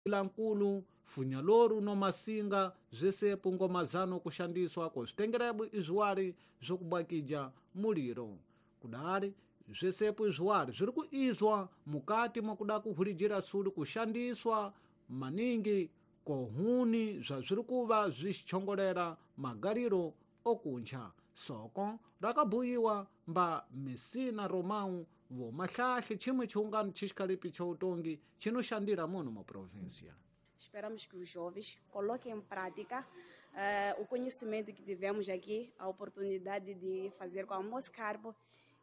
Lankulu funyaloru no masinga zvesepo ngomazano kushandiswa kozvitengerebwe izviwari zvokubwakija muliro kudari zvesepo izviwari zviri kuizwa mukati mokuda kuhurijira sulu kushandiswa maningi kohuni zvazviri kuva zvichichongolera magariro okunja soko rakabhuyiwa mba Messina Romão vomahlahle chimwe chiungano chixikalipi cha utongi chinoshandira muno mu província. Esperamos que os jovens coloquem em prática o conhecimento que tivemos aqui, a oportunidade de fazer com a Moscarbo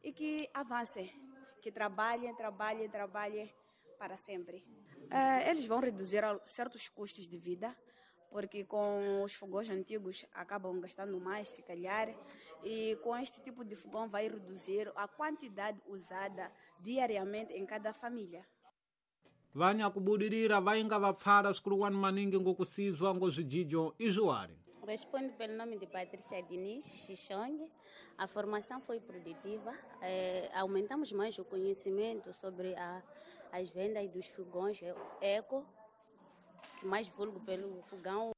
e que avancem, que trabalhem, trabalhem, trabalhem para sempre. Eles vão reduzir certos custos de vida, porque com os fogões antigos acabam gastando mais, se calhar, e com este tipo de fogão vai reduzir a quantidade usada diariamente em cada família. Vanyakubudirira vainga vapfara swikuluwani maningi ngokusizwa ngozvijijo izviwari. Respondo pelo nome de Patrícia Diniz Xixong. A formação foi produtiva. Aumentamos mais o conhecimento sobre as vendas dos fogões eco, mais vulgo pelo fogão.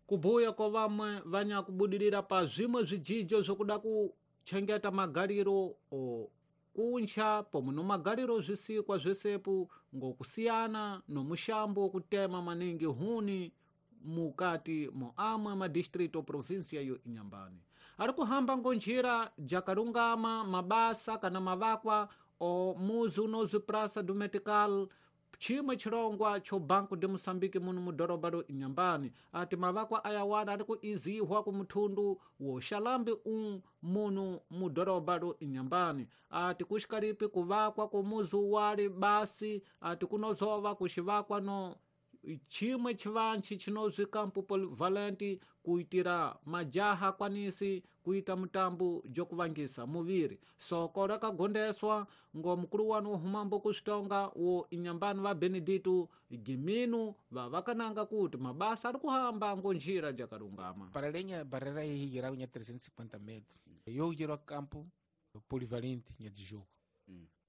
Kubuya kwa vamwe vanyakubudirira pa zvimwe zvijijo zvokuda kuchengeta magariro o kuncha pomwe nomagariro zvisikwa zvesepo ngokusiyana nomushambo wokutema maningi huni mukati mo amwe madistrito província yo Inhambane. Ari kuhamba ngonjira jakarungama mabasa kana mavakwa o muzi unozwi Praça do Metical, chimwe chirongwa cho Banco de Moçambique muno mudhorobha ro Inhambane. Ati mavakwa ayawana ari kuizihwa kumuthundu wo xalambi muno mudhorobha ro Inhambane. Ati kuxikalipi kuvakwa kumuzi wali basi ati kunozova kuxivakwa no chimwe chivanchi chinozwi Campo Polivalente kuitira majaha kwanisi kuita mutambo jokuvangisa muviri. Soko rakagondeswa ngo mukuru wanu wohumambo kusvitonga wo Inhambane va Benedito Gimino vavakananga kuti mabasa ari kuhamba ngo njira jakarungama. Para lenha barreira aí unha 350 metros. Eu giro campo polivalente nha de jogo.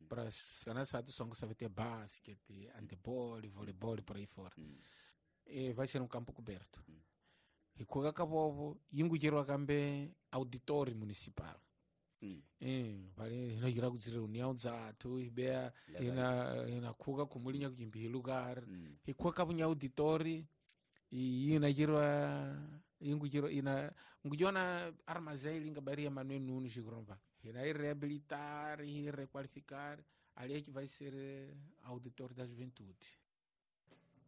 Para sanasado só que sabe ter basquete, handebol, voleibol por aí fora. E vai ser um campo coberto. E kuga kabobo yingu jiro kambe auditório municipal. Vale no jira ku reunião dzathu ibea ina kuga kumulinya kujimbi lugar. E kuga kabunya auditório e ina jiro yingu jiro ina ngujona armazém linga baria Manuel Nunes Gromba. Irá reabilitar e requalificar, ali é que vai ser auditor da juventude.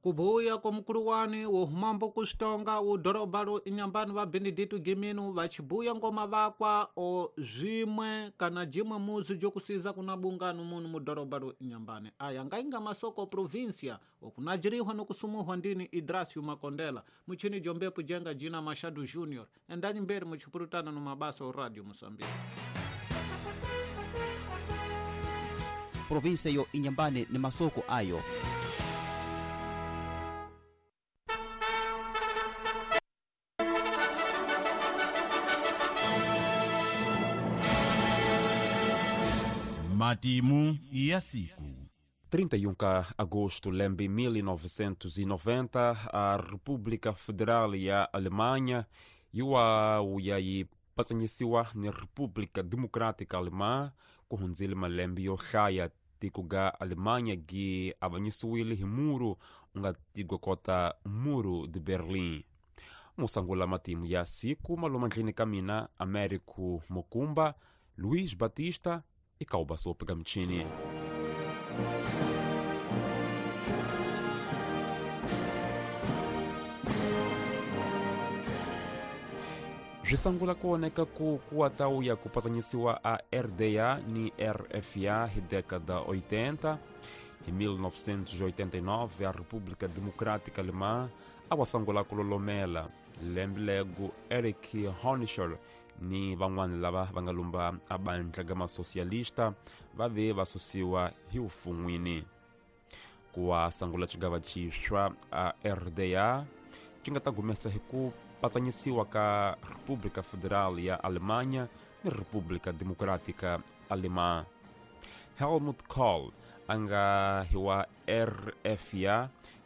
Kubuya kwa mukuluwani wohumambo kusitonga udhorobha ro Inhambane va Benedito Gimino vachibuya ngoma vakwa o zvimwe kana jimwe muzi jokusiza kuna bungano muno mudhorobha ro Inhambane. Aya ngainga masoko província okunajirihwa nokusumuhwa ndini Idrasio Makondela muchini jombepo jenga jina Machado Junior. Endani mberi muchipurutana no mabasa o Radio Moçambique. Província yo Inhambane ni masoko ayo. Matimu ya siku. 31 de agosto de 1990, a República Federal ya Alemanha iwa pasanyisiwa ni República Democrática Alemã kuhunzile malembe yo hlaya tiko ga Alemanha gi avanyisiwile hi muru unga tigwa kota Muro de Berlim. Musangula matimu ya siku malomandlini ka mina Américo Mokumba, Luiz Batista e Calbasopa Gamchini. Zwisangula kuoneka ku kuatau ya kupazanyisiwa a RDA ni RFA hi década 80. Em 1989, a República Democrática Alemã awasangula kulolomela lembilego Erich Honecker ni van'wana lava va nga lumba a bandla ga masocialista va ve va susiwa hi ufun'wini. Ku sangula xigava xixwa a RDA xi nga ta gumesa hi ku patsanyisiwa ka República Federal ya Alemanha ni República Democrática Alemã. Helmut Kohl a nga hi wa RFA